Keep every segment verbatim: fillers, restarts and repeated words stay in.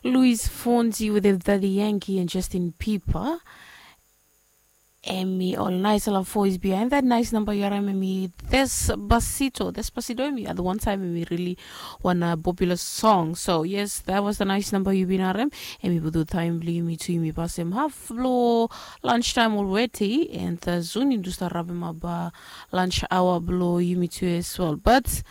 Luis Fonsi with Daddy Yankee and Justin Bieber. Emi ol naisala voice behind that nice number yu harim emi Despacito. Despacito emi at one time emi really wan popular song. So yes, that was the nice number yu bin harim. Emi putu taim blo yumi tu yumi pasem half blo lunch time already, and uh, soon yumi tu start wrapim up uh, lunch hour blo yumi tu as well. But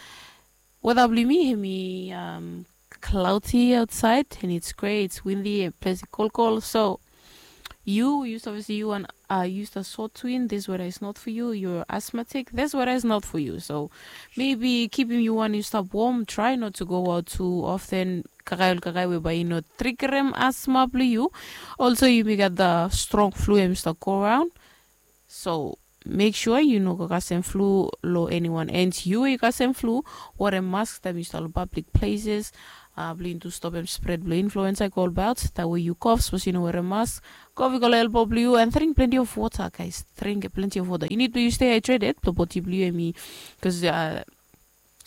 weather blo yumi emi um, cloudy outside and it's gray, it's windy, and plenty kolkol. So you, you obviously you and uh, use the sore twin. This weather is not for you. You're asthmatic. This weather is not for you. So maybe keeping you one you stop warm. Try not to go out too often. Kakae ol kakae we bae i no triggerem asthma blo yu. Also, you may get the strong flu and start go around. So make sure yu no go kasem flu lo anyone. And yu we yu kasem flu, wear a mask taim yu stap lo public places. Uh, blo yu tu stopem spread blo influenza i go about. That way yu cough, suppose yu no wear a mask. Cough i go lo elbow blo yu and drink plenty of water, guys. Drink plenty of water. You need to you stay hydrated. Blo body blo yu emi, because uh,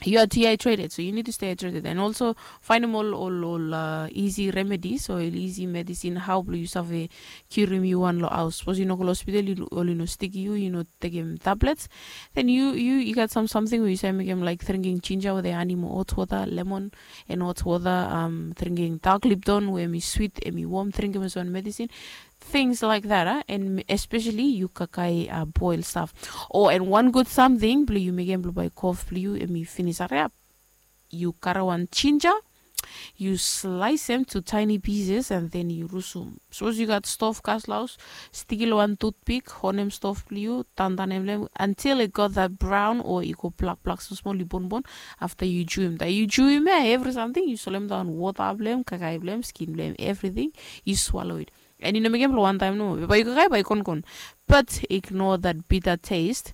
you are dehydrated, so you need to stay hydrated. And also, find them all, all, all uh, easy remedies or easy medicine. How blo yu save curim yu one lo house. Suppose yu no go lo hospital, yu oli no stick yu, yu no take him tablets. Then you you you got some something where you say make him like drinking ginger with the honey, hot water, lemon, and hot water. Um, drinking dark Lipton where him is sweet, him is warm. Drink him as one medicine. Things like that, huh? And especially you kakai uh, boil stuff. Oh, and one good something, blo you make him blo by cough, blo you, and me finish. Hurry up. You karawan ginger, you slice them to tiny pieces, and then you rusum. Suppose you got stove gas laus, sticky lo one toothpick, honem stove blo you, tantanem lem until it got that brown or it go black black so small you bone bone. After you chew him, that you chew him, eh, every something, you solem down water blem, kakai blem, skin blem, everything, you swallow it. And you know, make him one time no, but you kakai by con con. But ignore that bitter taste.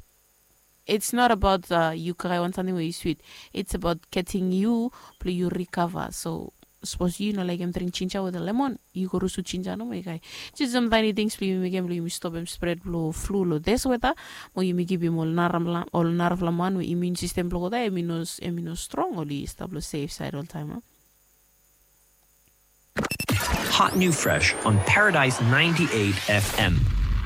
It's not about uh, you kakai want something where you sweet. It's about getting you, blo you recover. So suppose you know like him drink ginger with a lemon, you go rusu ginger no my guy. Just some tiny things blo you make him blo you stop him spread blo flu lo this weather. Mo you make him all narvla all narvla man with immune system blo go there, him no him no strong, oli stop lo safe side all time, huh? Hot new fresh on Paradise ninety-eight F M.